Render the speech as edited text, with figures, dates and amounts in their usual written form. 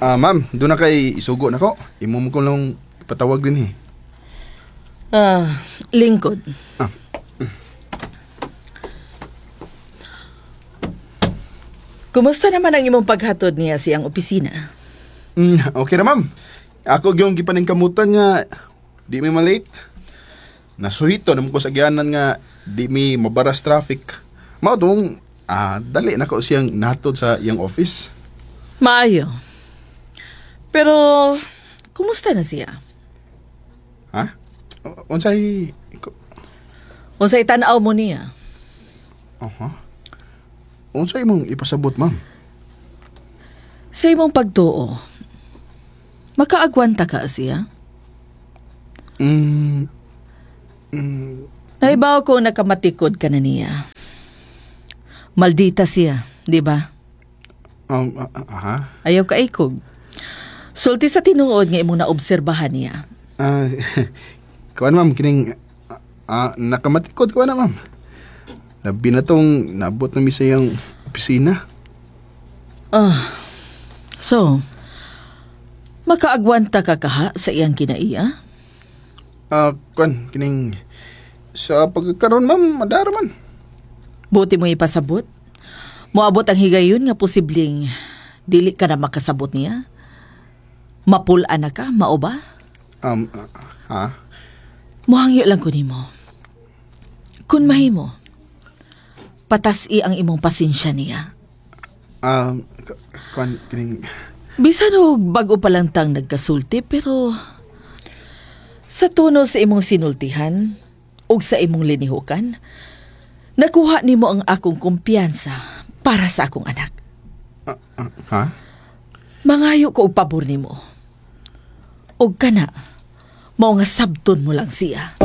Ma'am, duna kay isugo nako. Imo mo ko lang ipatawag dinhi. Ah, lingkod. Ah. Kumusta naman ang imong paghatod niya sa iyang opisina? Okay ra, ma'am. Ako gyung gipaningkamutan nga di mi malate. Nasuhito naman ko sa agyanan nga di mi mabaras traffic. Mao tong dali nako siyang natod sa iyang office. Maayo. Pero, kumusta na siya? Ha? Unsay Unsay tan-aw mo niya? Aha. Unsay imong ipasabot, ma'am? Sa imong pagtuo, makaagwanta ka siya? Naibaw ko nakamatikod ka na niya. Maldita siya, di ba? Aha. Ayaw ka ikog. Sulti sa tinuod nga imong naobserbahan niya. Kuan, ma'am, kining nakamatikod ko na, ma'am. Labi na tong naabot na mi sa iyang opisina. Ah, so, makaagwanta ka kaha sa iyang kinaiya? Kuan, kining sa pagkaroon, ma'am, madara man. Buti mo ipasabot. Moabot ang higayon nga posibleng dili ka na makasabot niya. Mapul-an na ka, mao ba? Ha? Muhangyo lang ko nimo. Kun mahimo, patas-i ang imong pasensya niya. Kuan, kining Bisan og bag-o pa lang tang nagkasulti, pero sa tono sa imong sinultihan ug sa imong linihukan, nakuha nimo ang akong kumpiyansa para sa akong anak. Ha? Mangayo ko og pabor nimo. Og kana, mao nga sabton mo lang siya.